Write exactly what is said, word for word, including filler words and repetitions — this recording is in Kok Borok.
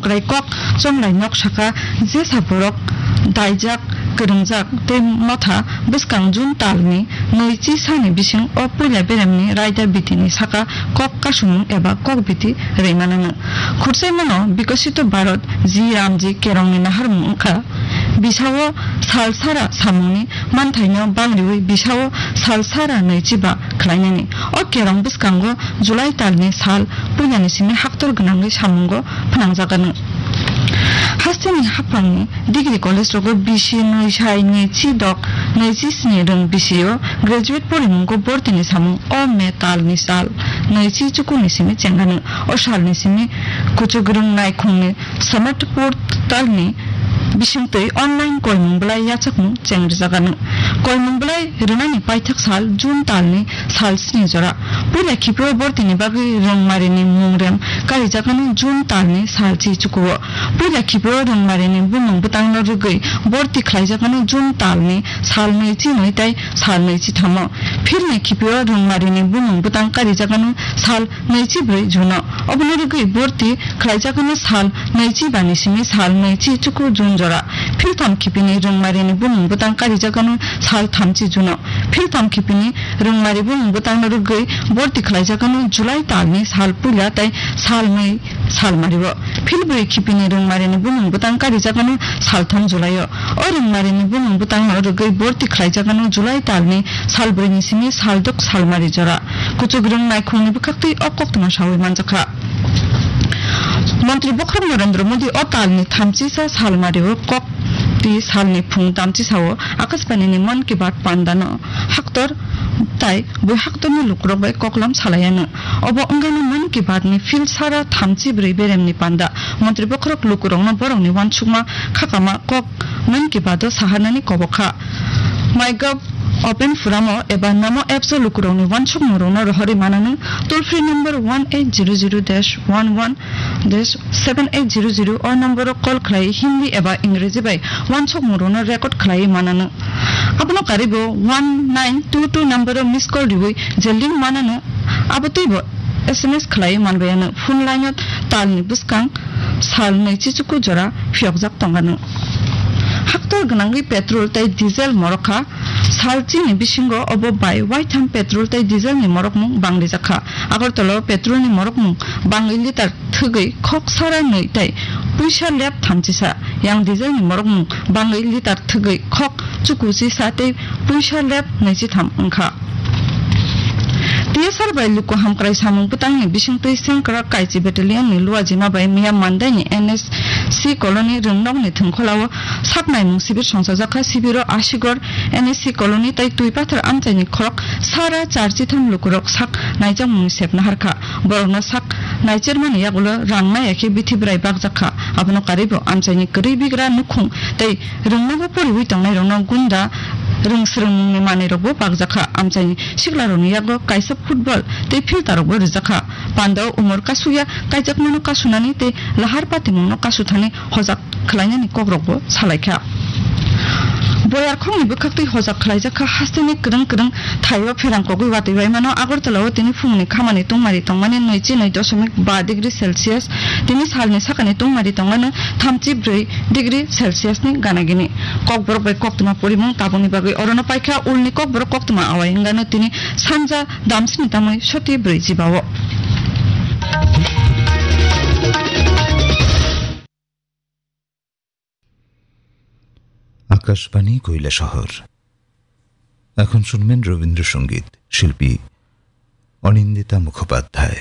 Kwrai kok chonglai nok saka jesa borok daijak, kwrwngjak tei motha bwskang June talni nwichi sani bising o puila beremni raida bitini saka kok kasumung eba kok biti rwimano. Khursaimano Bikosito Bharat G Ramji Kerongni naharmung wngkha. Bisao sal sara samungni manthaino bangriwi bisao sal sara nwichi ba khlainani. O kerong bwskango July talni sal puilani simi haktor gwnangwi samungo phnangjakgano. Hasteni haphangni degree college rogo bisi nwi sai nwichi dok nwichi sni rwng bisio graduate porimungo bortini samung o May talni sal nwichi chukuni simi chenggano. O salni simi kuchugrwng naikhungni Samat portalni bisingtwi online koimung bwlai yachakmung chengrijakgano. Koimung bwlai rwnani paithak sal June talni sal sni jora. Puila khipio bortini bagwi rwngmarini mungrem karijakgano June talni sal chi chukuo. Puila khipio rwngmarini bumung bwtangno rwgwi borti khlaijakgano June talni sal nwi chi nwi tei sal nwi chi thamo. Philni khipio rwngmarini bumung bwtang karijakgano sal nwichi bwrwi June-o. Oboni rwgwi borti khlaijakgano sal nwichi bani simi sal nwichi chuku June jora. Philtham khipini rwngmarini bumung bwtang karijakgano sal thamchi June-o. Philtham khipini rwngmari bumung bwtangno rwgwi borti khlaijakgano July talni sal puila tei sal nwi sal mario. Philbrwi khipini rwngmarini bumung bwtang karijakgano saltham July-o. O rwngmarini bumung bwtangno rwgwi borti khlaijakgano July talni salbrwini simi saldok salmari jora. Kuchugrwng naikhungni bwkhaktwi o koktwma sawi manjakha. Montri Bokhorok Narendra Modi o talni thamchisa salmario kok twi salni phung tamchisao Akashbanini Mann Ki Baat pandano haktor tai bui haktorni lukurok bai koklam salaiano. Obo wngkha Mann Ki Baat ni phil sara thamchi brwi beremni panda. Montri bokhorok lukurokno borokni uansukma khakama kok Mann Ki Baat o saharnani kobok kha. MyGov Open Forum o eba Namo apps o lukurokni uansukmungrokno rohorwi manano. Toll free number one eight zero zero dash one one dash seven eight zero zero o number o call khlai Hindi eba Ingreji bai uansukmungrokno record khlai manano. Abono karwi bo one nine two two number o miss call riwi je link manano, abo twibo S M S khlai manbayano. Phone line o talni bwskang sal nwi chichuku jora phiyokjak tongano. Haktor gwnangwi petrol tei diesel morok kha. Sal chini bisingo obo bai waitham petrol tei diesel ni morokmung bangrijak kha. Agartala o petrol ni morokmung bangwi litar thwgwi khok sara nwi tei puisa lep thamchisa. Yang diesel ni morokmung bangwi litar thwgwi khok chukuchisa tei puisa lep nwichitham wngkha. T S R bai luku hamkrai samung bwtangni bisingtwi Sengkrak Kaichi Battalion ni Luajima bai Miya Mandai ni N S C Colony Rwngnokni thwngkholao sak naimung sibir songchajakha. Sibiro Asigor N S C Colony tei Twipathar amchaini khorok sara charchitham lukurok sak naijakmungni sepna harkha. Borokno sak naichermani yagulo rang naiya khe bithi bwrai bakjakha. Abono karwibo amchaini kwrwi bigra nukhung tei rwngnogo poriwi tongnairokno gunda rwngsrwngmungni manwirokbo bakjakha. Amchaini siklarokni yago kaisa football tei filtarokbo rwjakha. Pandao umor kasukya kaijakmano kasunani tei lahar patimungno kasuthani hojak khlainani kokrokbo salaikha. Boyarkhokni bwkhaktwi hojak khlaijakha hasteni kwrwng kwrwng thaio pherang kogwi watwi baimano. Agartalao tini phungni khamani tungmari tongmani nwichi nwi dosomik ba degree Celsius, tini salni sakani tungmari tongmani thamchi bwrwi degree Celsius ni gana gini. Kokborok bai koktwma porimung tabukni bagwi orono paikha. Ulni kokborok koktwma awai wngano tini sanja damsini tamwi soti bwrwi jibao. Akashvani কৈলাসহর। এখন শুনবেন রবীন্দ্রসঙ্গীত, শিল্পী অনিন্দিতা মুখোপাধ্যায়।